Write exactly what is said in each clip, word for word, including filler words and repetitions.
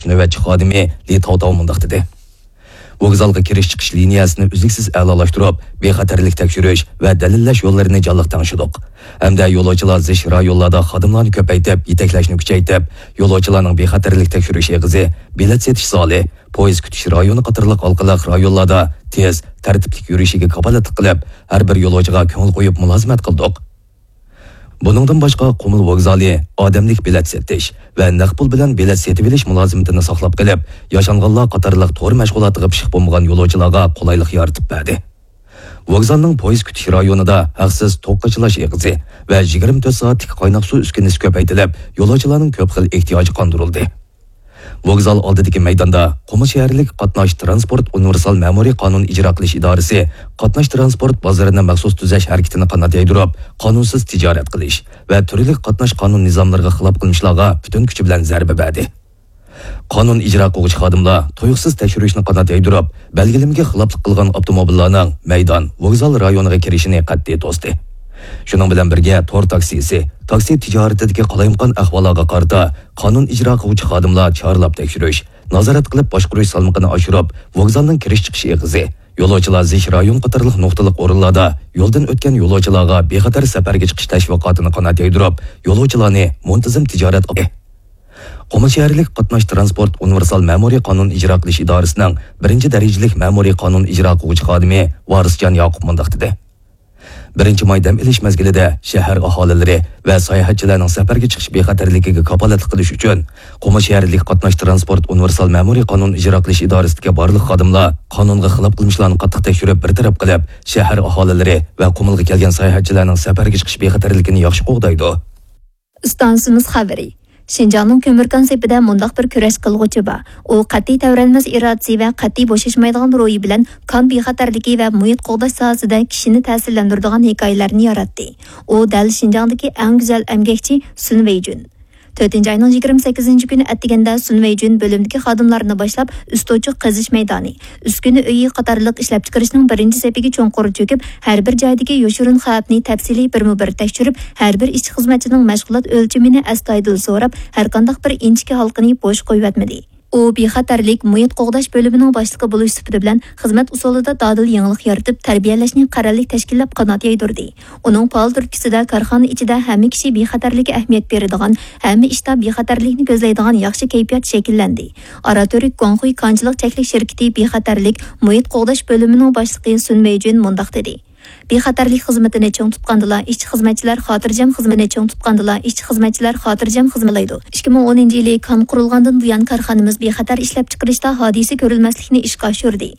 نۆۋەتچى خادىمى لى تاۋتاۋ مۇنداق دېدى: ۋوگزالغا كىرىش-چىقىش لىنىيەسىنى ئۈزلۈكسىز ئەلالاشتۇرۇپ، بىخەتەرلىك تەكشۈرۈش ۋە دەلىللەش يوللىرىنى جانلىق تەڭشىدۇق ھەمدە يولۇچىلار زىچ رايونلاردا خادىملارنى كۆپەيتىپ، يېتەكلەشنى كۈچەيتىپ، يولۇچىلارنىڭ بىخەتەرلىك تەكشۈرۈش ئېغىزى، بېلەت سېتىش زالى، پويىز كۈتۈش رايونى قاتارلىق ھالقىلىق رايونلاردا تېز، تەرتىپلىك يۈرۈشىگە كاپالەتلىك قىلىپ، ھەر بىر يولۇچىغا كۆڭۈل قويۇپ مۇلازىمەت قىلدۇق. بۇنىڭدىن باشقا، قۇمۇل ۋوگزالى ئادەملىك بېلەت سېتىش ۋە نەق پۇل بىلەن بېلەت سېتىۋېلىش مۇلازىمىتىنى ساقلاپ قېلىپ، ياشانغانلار قاتارلىق تور مەشغۇلاتىغا پىشىق بولمىغان يولۇچىلارغا قولايلىق يارىتىپ بەردى. ۋوگزالنىڭ پويىز كۈتۈش رايونىدا ھەقسىز توك قاچىلاش ئېغىزى ۋە يىگىرمە تۆت سائەتلىك قايناق سۇ ئۈسكۈنىسى كۆپەيتىلىپ، يولۇچىلارنىڭ كۆپ خىل ئېھتىياجى قاندۇرۇلدى. ۋوگزال ئالدىدىكى مەيداندا قۇمۇل شەھەرلىك قاتناش تىرانسپورت ئۇنىۋېرسال مەمۇرىي قانۇن ئىجرا قىلىش ئىدارىسى قاتناش تىرانسپورت بازىرىنى مەخسۇس تۈزەش ھەرىكىتىنى قانات يايدۇرۇپ، قانۇنسىز تىجارەت قىلىش ۋە تۈرلۈك قاتناش قانۇن نىزاملىرىغا خىلاپ قىلمىشلارغا پۈتۈن كۈچى بىلەن زەربە بەردى. قانۇن ئىجرا قىلغۇچى خادىملار تۇيۇقسىز تەكشۈرۈشنى قانات يايدۇرۇپ، بەلگىلىمىگە خىلاپلىق قىلغان ئاپتوموبىللارنىڭ مەيدان، ۋوگزال رايونىغا كىرىشىنى قەتئىي توستى. شۇنىڭ بىلەن بىرگە، تور تاكسىسى، تاكسى تىجارىتىدىكى قالايمىقان ئەھۋاللارغا قارىتا قانۇن ئىجرا قىلغۇچى خادىملار چارلاپ تەكشۈرۈش، نازارەت قىلىپ باشقۇرۇش سالمىقىنى ئاشۇرۇپ، ۋوگزالنىڭ كىرىش-چىقىش ئېغىزى، يولۇچىلار زىچ رايون قاتارلىق نۇقتىلىق ئورۇنلاردا يولدىن ئۆتكەن يولۇچىلارغا بىخەتەر سەپەرگە چىقىش تەشۋىقاتىنى قانات يايدۇرۇپ، يولۇچىلارنى مۇنتىزىم تىجارەت قۇمۇل شەھەرلىك قاتناش تىرانسپورت ئۇنىۋېرسال مەمۇرىي قانۇن ئىجرا قىلىش ئىدارىسىنىڭ بىرىنچى دەرىجىلىك مەمۇرىي قانۇن ئىجرا قىلغۇچى خادىمى ۋارىسجان ياقۇپ مۇنداق دېدى: بىرىنچى ماي دەم ئېلىش مەزگىلىدە شەھەر ئاھالىلىرى ۋە ساياھەتچىلەرنىڭ سەپەرگە چىقىش بىخەتەرلىكىگە كاپالەتلىك قىلىش ئۈچۈن، قۇمۇل شەھەرلىك قاتناش تىرانسپورت ئۇنىۋېرسال مەمۇرىي قانۇن ئىجرا قىلىش ئىدارىسىدىكى بارلىق خادىملار قانۇنغا خىلاپ قىلمىشلارنى قاتتىق تەكشۈرۈپ بىر تەرەپ قىلىپ، شەھەر ئاھالىلىرى ۋە قۇمۇلغا كەلگەن ساياھەتچىلەرنىڭ سەپەرگە چىقىش بىخەتەرلىكىنى ياخشى قوغدايدۇ. ئىستانسىمىز خەۋىرى. شىنجاڭنىڭ كۆمۈركان سېپىدە مۇنداق بىر كۈرەش قىلغۇچى بار. ئۇ قەتئىي تەۋرەنمەس ئىرادىسى ۋە قەتئىي بوشاشمايدىغان روھى بىلەن كان بىخەتەرلىكى ۋە مۇھىت قوغداش ساھەسىدە كىشىنى تەسىرلەندۈرىدىغان ھېكايىلەرنى ياراتتى. ئۇ دەل شىنجاڭدىكى ئەڭ گۈزەل ئەمگەكچى سۈن ۋېيجۈن. تۆتىنچى ئاينىڭ يىگىرمە سەككىزىنچى كۈنى ئەتىگەندە سۈن ۋېيجۈن بۆلۈمدىكى خادىملارنى باشلاپ، ئۈستوچۇق قېزىش مەيدانى، ئۈسكۈنە ئۆيى قاتارلىق ئىشلەپچىقىرىشنىڭ بىرىنچى سېپىگە چوڭقۇر چۆكۈپ، ھەر بىر جايدىكى يوشۇرۇن خەۋپنى تەپسىلىي بىرمۇ بىر تەكشۈرۈپ، ھەر بىر ئىشچى-خىزمەتچىنىڭ مەشغۇلات ئۆلچىمىنى ئەستايىدىل سوراپ، ھەرقانداق بىر ئىنچىكە ھالقىنى بوش قويۇۋەتمىدى. ئۇ بىخەتەرلىك، مۇھىت قوغداش بۆلۈمىنىڭ باشلىقى بولۇش سۈپىتى بىلەن خىزمەت ئۇسۇلىدا دادىل يېڭىلىق يارىتىپ، تەربىيەلەشنى قەرەللىك تەشكىللەپ قانات يايدۇردى. ئۇنىڭ پائال تۈرتكىسىدە كارخانا ئىچىدە ھەممە كىشى بىخەتەرلىككە ئەھمىيەت بېرىدىغان، ھەممە ئىشتا بىخەتەرلىكنى كۆزلەيدىغان ياخشى كەيپىيات شەكىللەندى. ئاراتۈرك گۇاڭخۇي كانچىلىق چەكلىك شىركىتى بىخەتەرلىك، مۇھىت قوغداش بۆلۈمىنىڭ باشلىقى سۈن مېيجۈن مۇنداق دېدى: بىخەتەرلىك خىزمىتىنى چىڭ تۇتقاندىلا، ئىشچى-خىزمەتچىلەر خاتىرجەم خىزمىتىنى چىڭ تۇتقاندىلا، ئىشچى-خىزمەتچىلەر خاتىرجەم خىزمەت قىلالايدۇ. ئىككى مىڭ ئونىنچى يىلى كان قۇرۇلغاندىن بۇيان، كارخانىمىز بىخەتەر ئىشلەپچىقىرىشتا ھادىسە كۆرۈلمەسلىكنى ئىشقا ئاشۇردى.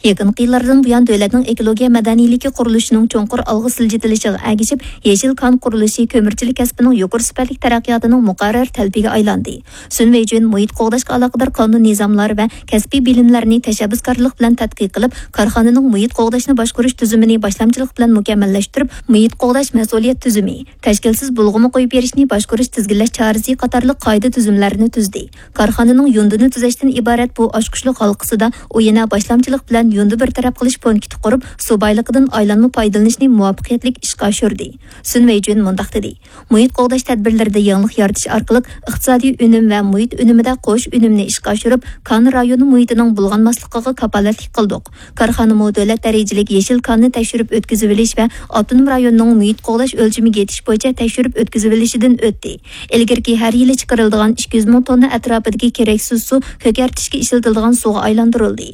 يېقىنقى يىللاردىن بۇيان، دۆلەتنىڭ ئېكولوگىيە مەدەنىيلىكى قۇرۇلۇشىنىڭ چوڭقۇر ئالغا سىلجىتىلىشىغا ئەگىشىپ، يېشىل كان قۇرۇلۇشى كۆمۈرچىلىك كەسپىنىڭ يۇقىرى سۈپەتلىك تەرەققىياتىنىڭ مۇقەررەر تەلىپىگە ئايلاندى. سۈن ۋېيجۈن مۇھىت قوغداشقا ئالاقىدار قانۇن نىزاملار ۋە كەسپىي بىلىملەرنى تەشەببۇسكارلىق بىلەن تەتقىق قىلىپ، كارخانىنىڭ مۇھىت قوغداشنى باشقۇرۇش تۈزۈمىنى باشلامچىلىق بىلەن مۇكەممەللەشتۈرۈپ، مۇھىت قوغداش مەسئۇلىيەت تۈزۈمى، تەشكىلسىز بۇلغىما قويۇپ بېرىشنى باشقۇرۇش تىزگىنلەش چارىسى قاتارلىق قائىدە تۈزۈملەرنى تۈزدى. كارخانىنىڭ يۇندىنى تۈزەشتىن ئىبارەت بۇ ئاچقۇچلۇق ھالقىسىدا ئۇ يەنە باشلامچىلىق بىلەن يۇندى بىر تەرەپ قىلىش پونكىتى قۇرۇپ، سۇ بايلىقىدىن ئايلانما پايدىلىنىشنى مۇۋەپپەقىيەتلىك ئىشقا ئاشۇردى. سۈن ۋېيجۈن مۇنداق دېدى: مۇھىت قوغداش تەدبىرلىرىدە يېڭىلىق يارىتىش ئارقىلىق ئىقتىسادىي ئۈنۈم ۋە مۇھىت ئۈنۈمىدە قوش ئۈنۈمنى ئىشقا ئاشۇرۇپ، كان رايونى مۇھىتىنىڭ بۇلغانماسلىقىغا كاپالەتلىك قىلدۇق. كارخانىمۇ دۆلەت دەرىجىلىك يېشىل كاننى تەكشۈرۈپ ئۆتكۈزۈۋېلىش ۋە ئاپتونوم رايوننىڭ مۇھىت قوغداش ئۆلچىمىگە يېتىش بويىچە تەكشۈرۈپ ئۆتكۈزۈۋېلىشىدىن ئۆتتى. ئىلگىرىكى ھەر يىلى چىقىرىلىدىغان ئىككى يۈز مىڭ توننا ئەتراپىدىكى كېرەكسىز سۇ كۆكەرتىشكە ئىشلىتىلىدىغان سۇغا ئايلاندۇرۇلدى.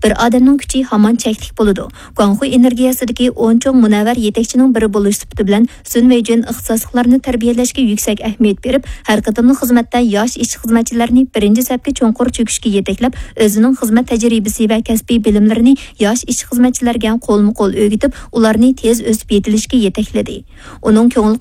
بىر ئادەمنىڭ كۈچى ھامان چەكلىك بولىدۇ. گۇاڭخۇي ئېنېرگىيەسىدىكى ئون چوڭ مۇنەۋۋەر يېتەكچىنىڭ بىرى بولۇش سۈپىتى بىلەن، سۈن ۋېيجۈن ئىختىساسلىقلارنى تەربىيەلەشكە يۈكسەك ئەھمىيەت بېرىپ، ھەر قېتىملىق خىزمەتتە ياش ئىشچى-خىزمەتچىلەرنى بىرىنچى سەپكە چوڭقۇر چۆكۈشكە يېتەكلەپ، ئۆزىنىڭ خىزمەت تەجرىبىسى ۋە كەسپىي بىلىملىرىنى ياش ئىشچى-خىزمەتچىلەرگە قولمۇ-قول ئۆگىتىپ، ئۇلارنى تېز ئۆسۈپ يېتىلىشكە يېتەكلىدى. ئۇنىڭ كۆڭۈل